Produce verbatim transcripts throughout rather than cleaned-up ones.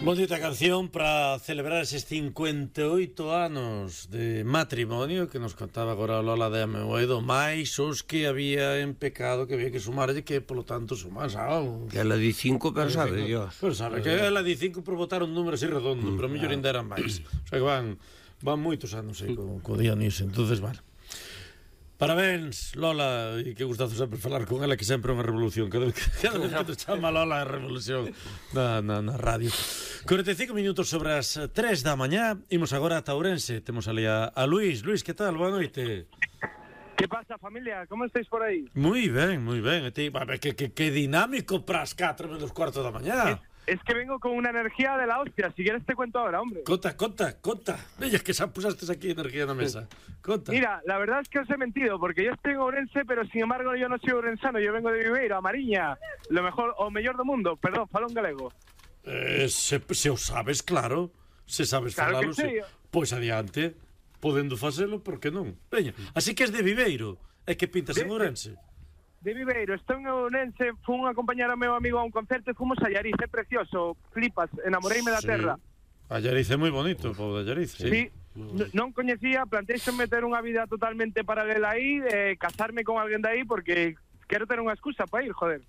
Bonita canción para celebrar eses cincuenta e oito anos de matrimonio que nos contaba agora Lola de Amoedo, máis os que había en pecado que había que sumarlle, que polo tanto sumas algo. Que ela di cinco, pero sabe Dios. Pero sabe que ela di cinco por botar un número así redondo, pero mellor ainda eran máis. O sea que van, van moitos anos aí co, co Dionisio, entonces vale. Parabéns, Lola, e que gustazo sempre falar con ela, que sempre é unha revolución. Cada vez, cada vez que te chama Lola é revolución na, na, na radio. cuarenta e cinco minutos sobre as tres da mañá. Imos agora a Ourense. Temos ali a, a Luís. Luís, que tal? Boa noite. Que pasa, familia? Como estáis por aí? Moi ben, moi ben. E ti, que, que, que dinámico pras catro menos cuarto da mañá. Es, es que vengo con una energía de la hostia. Si quieres te cuento ahora, hombre. Conta, conta, conta. Veña, que xa pusastes aquí energía na mesa. Conta. Mira, la verdad es que os he mentido, porque yo estoy en Ourense, pero sin embargo yo no soy ourensano, yo vengo de Viveiro, a Mariña, lo mejor, o mellor do mundo, perdón, falo en galego. Eh, se, se o sabes, claro, se sabes Claro falalo, que sí. se, pois adiante, podendo facelo, por que non? Veña, así que es de Viveiro, é que pintas De- en Ourense. De Viveiro, estou en Ourense, fun a acompañar ao meu amigo a un concerto e fomos a Allariz, é precioso, flipas, enamoreime da Sí. terra. Allariz é moi bonito, o pobo de Allariz. Sí, sí. N- non coñecía, planteixo meter unha vida totalmente paralela aí, eh, casarme con alguén de aí, porque quero ter unha excusa para ir, joder.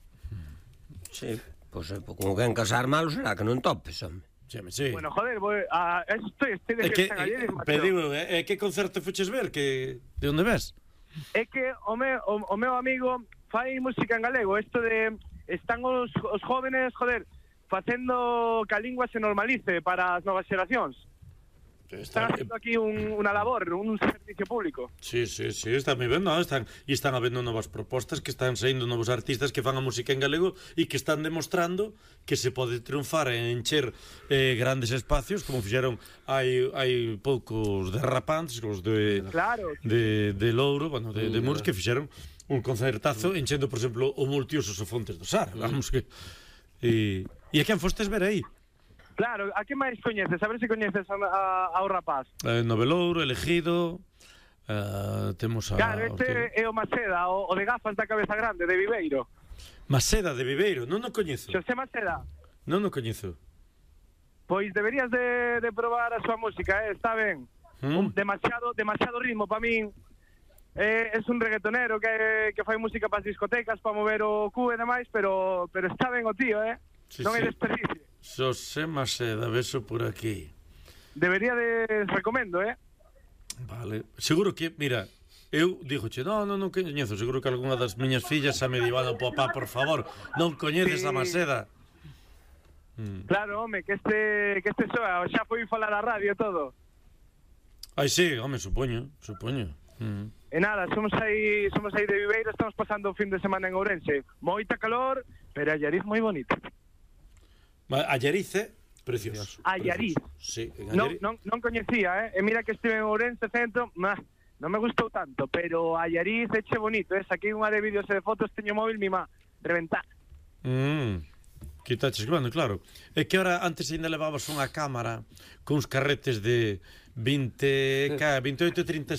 Sí, pois pues, como quen casar malo será que non topes, home. Sí, sí. Bueno, joder, voy a... Estoy, estoy de É que, fiesta en Allariz, eh, macho. pediu, é eh, que concerto fuches ver, que de onde ves? É que o meu, o, o meu amigo fai música en galego, isto de están os, os jóvenes, joder, facendo que a lingua se normalice para as novas xeracións. Están haciendo aquí un, unha labor, un servicio público. Sí, sí, sí, están moi ben, no? Están, e están habendo novas propostas, que están saindo novos artistas que fan a música en galego e que están demostrando que se pode triunfar e encher eh, grandes espacios, como fixeron hai, hai poucos derrapantes, os de, Claro. de, de Louro, bueno, de, de Muros, que fixeron un concertazo enchendo, por exemplo, o Multiusos o Fontes do Sar, vamos que... E, e a quen fostes ver aí? Claro, a que máis coñeces? A ver se coñeces a, a, ao rapaz. Eh, Novelouro, Elegido, eh, temos a... Claro, este é o Maceda, o, o de gafas da cabeza grande, de Viveiro. Maceda de Viveiro, non o coñezo. Xosé Maceda, Non o coñezo. pois deberías de, de probar a súa música, eh? Está ben. Mm. Un, demasiado, demasiado ritmo para min. Eh, es un reggaetonero que, que fai música para as discotecas, para mover o cu e demais, pero, pero está ben o tío, eh? Sí, non sí. hai desperdicio. Xosé Maceda, beso por aquí. Debería de... Recomendo, eh? Vale. Seguro que, mira, eu dixoche, non, non, non coñezo, seguro que algunha das miñas fillas xa me diban, papá, por favor, non coñeces Sí. a Maceda. Mm. Claro, home, que este, que este soa, xa foi falar a radio e todo. Ai, sí, home, supoño, supoño. Mm. E nada, somos aí, somos aí de Viveiro, estamos pasando o fin de semana en Ourense. Moita calor, pero Allariz moi bonito. Allariz, precioso. Allariz. Precioso. Sí, en Non, Allariz. non, non coñecía, eh? E mira que estive en Ourense centro, nah, non me gustou tanto, pero Allariz eche bonito, eh? Saquei unha de vídeos e de fotos, teño móvil, mima, reventar. Mm. Quitaches, bueno, claro. É que ahora antes ainda levabas unha cámara cuns carretes de vinte, ca, veintioito, trinta